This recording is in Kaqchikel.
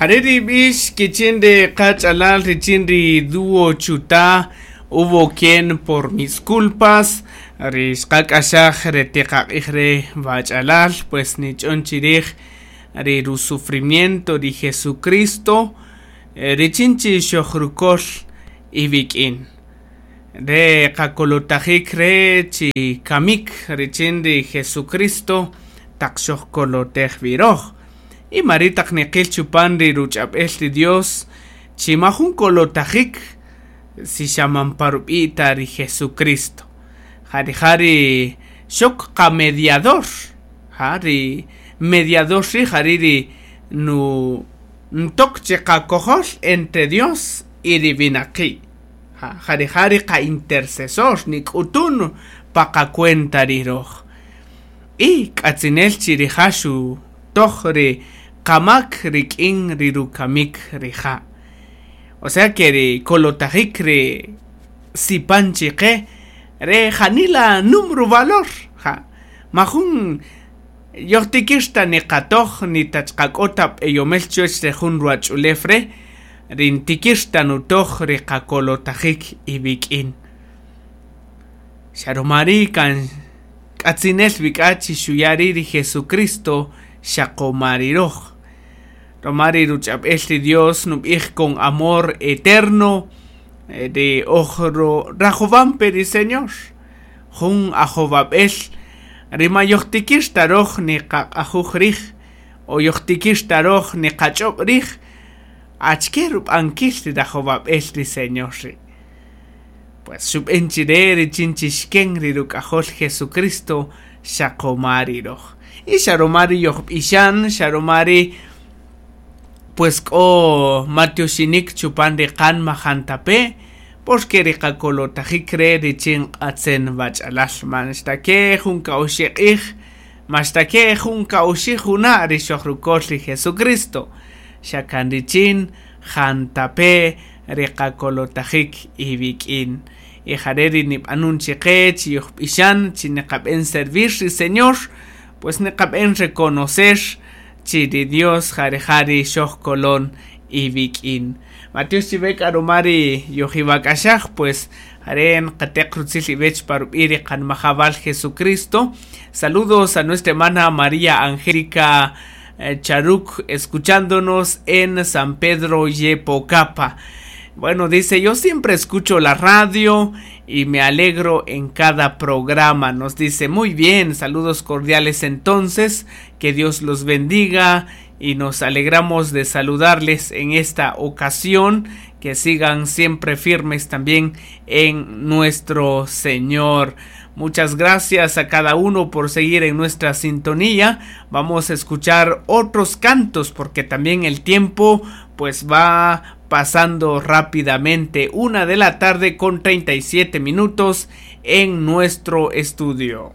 Jare' ri b'ix kichin ri qach'alal richin ri dúo Chuta hubo quien por mis culpas ri xqak'axaj ri tiqaq'ij re wach'alal pues nich'on chirij ri rusufrimiento ri Jesucristo richin chi xojrukol iwik'in re qakolotajik re chi kamik richin ri Jesucristo taq xojkolotej wi röj y mari' taq niqil chupan ri ruch'ab'el ri Dios chi majun kolotajik si xa man pa rub'i' ta ri Jesucristo ja rija' ri xok qamediador ja ri mediador ri' jari' ri nu ntok chi qakojol entre Dios y ri winaqi' ja rija' ri qa-intercesor nik'utun pa qacuenta ri röj y k'atzinel chi rija' xutoj ri qamak rik'in ri rukamik rija' o sea que ri kolotajik ri sipan chiqe re janila nüm ruvalor ja majun yojtikir ta niqatoj ni ta chqa k'o ta b'eyomel chuwach re jun ruwach'ulew re' ri ntikir ta nutoj ri qakolotajik iwik'in xa ruma ri' kan k'atzinel wi k'a chi xuya' ri' ri Jesucristo xaqoma ri röj ruma ri ruch'ab'el ri Dios nub'ij con amor eterno ri oj rajowampe ri Señor jun ajowab'el ri ma yojtikir ta röj niqaq'ajuj riij o yojtikir ta röj niqach'ob' riij achike rub'ankil ri rajowab'el ri Señor ri' pues xub'en chire richin chi xken ri ruk'ajol Jesucristo xaqoma ri röj y xa ruma ri yojb'ixan xa ruma ri pues k'o matioxinik chupan ri qanma jantape' porque ri qakolotajik re richin q'atzen wach'alal man xtake' jun ka'oxi' q'ij man xtake' jun ka'oxi' juna' ri xojrukol ri Jesucristo xa kan richin jantape' ri qakolotajik iwik'in y jare' ri nib'anun chiqe chi yojb'ixan chi niqab'en servir ri Señor pues niqab'en reconocer chi ri Dios ja rija' ri xojkolon iwik'in matiox chiwe k'a ruma ri yojiwak'axaj pues jare' nqateq rutzil iwech pa rub'i' ri qanmajawal Jesucristo saludos a nuestra hermana María Angélica Charuk escuchándonos en San Pedro Yepocapa. Bueno, dice, yo siempre escucho la radio y me alegro en cada programa. Nos dice, muy bien, saludos cordiales entonces, que Dios los bendiga y nos alegramos de saludarles en esta ocasión, que sigan siempre firmes también en nuestro Señor. Muchas gracias a cada uno por seguir en nuestra sintonía. Vamos a escuchar otros cantos porque también el tiempo pues va pasando rápidamente. 1 de la tarde con 37 minutos en nuestro estudio.